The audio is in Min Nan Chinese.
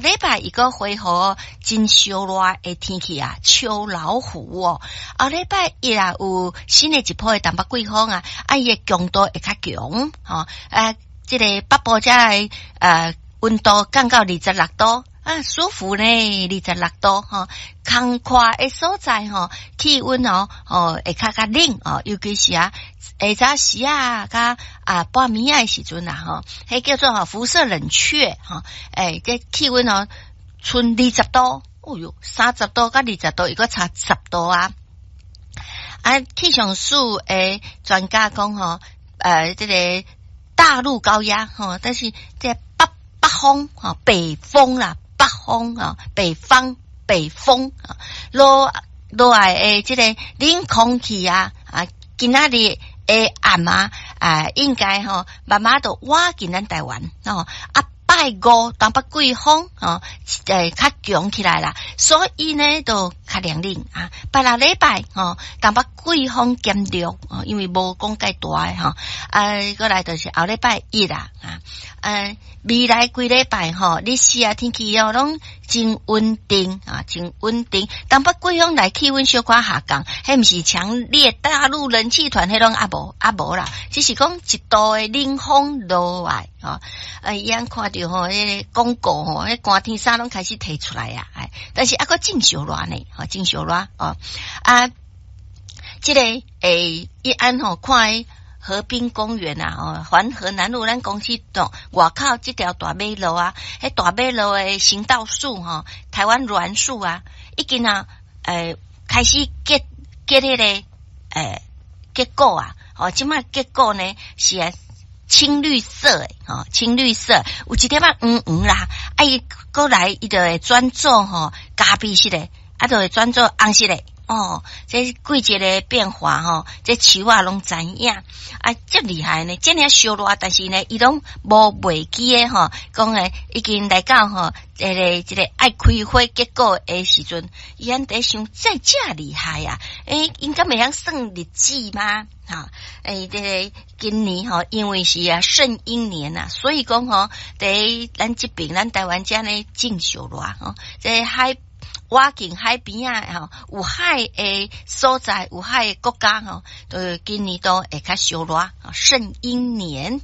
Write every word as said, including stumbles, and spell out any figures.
禮拜伊閣恢復真燒熱的天氣啊，秋老虎哦。後禮拜一啊，有新的一波的東北季風啊，啊伊的強度會較強，吼啊，這个北部遮的呃溫度降到二十六度。啊，舒服呢，二十六度吼，空曠的所在吼，氣溫哦，哦會較較冷哦，尤其是啊下早時啊，佮啊半暝仔的時陣啊，吼，彼叫做吼輻射冷卻吼，欸，這氣溫哦，賰二十度，哦喲，三十度佮二十度，伊閣差十度啊！啊，氣象署的專家講吼，呃，這個大陸高壓吼，但是這北北風吼，北風啦。北風啊，北方北風啊，落落來的這個冷空氣啊啊，今仔日的暗啊啊，應該吼慢慢就倚近咱台灣哦啊。拜五東北季風哦，會較強起來啦，所以呢，就較涼冷啊。拜六禮拜吼，東北季風減弱哦，因為無講蓋大的吼。啊，過來就是後禮拜一啦啊。呃，未來幾禮拜吼，日時啊天氣哦攏真穩定啊，真穩定。東北季風來氣溫小可下降，彼毋是強烈大陸冷氣團，彼攏猶無猶無啦，只是講一度的冷風落來吼。啊，伊按看著吼，彼个廣告吼，彼寒天衫攏開始提出來啊，哎，但是猶閣真燒熱呢，吼，真燒熱哦。啊，這個欸，伊按吼看河濱公園啊，哦，環河南路咱公司外口這條大馬路啊，彼大馬路的行道樹吼，台灣欒樹啊，已經啊，欸，開始結結彼个欸結果啊，哦，這擺結果呢是啊青綠色的，吼，青綠色，有一點仔黃黃啦，啊伊閣來伊就會轉做吼咖啡色的，啊就會轉做紅色的。哦，這季節的變化吼，這樹仔攏知影啊，遮厲害呢，遮爾燒熱，但是呢，伊攏無袂記的吼，講的已經來到吼，這个這个愛開花結果的時陣，伊按佇想這遮厲害啊！欸，𪜶敢會曉算日子嗎？哈，欸，這个今年吼，因為是啊聖嬰年啊，所以講吼，佇咱這邊咱台灣遮呢真燒熱吼，這海。倚近海邊仔吼，有海的所在，有海的國家吼，都今年都會較燒熱。聖嬰年。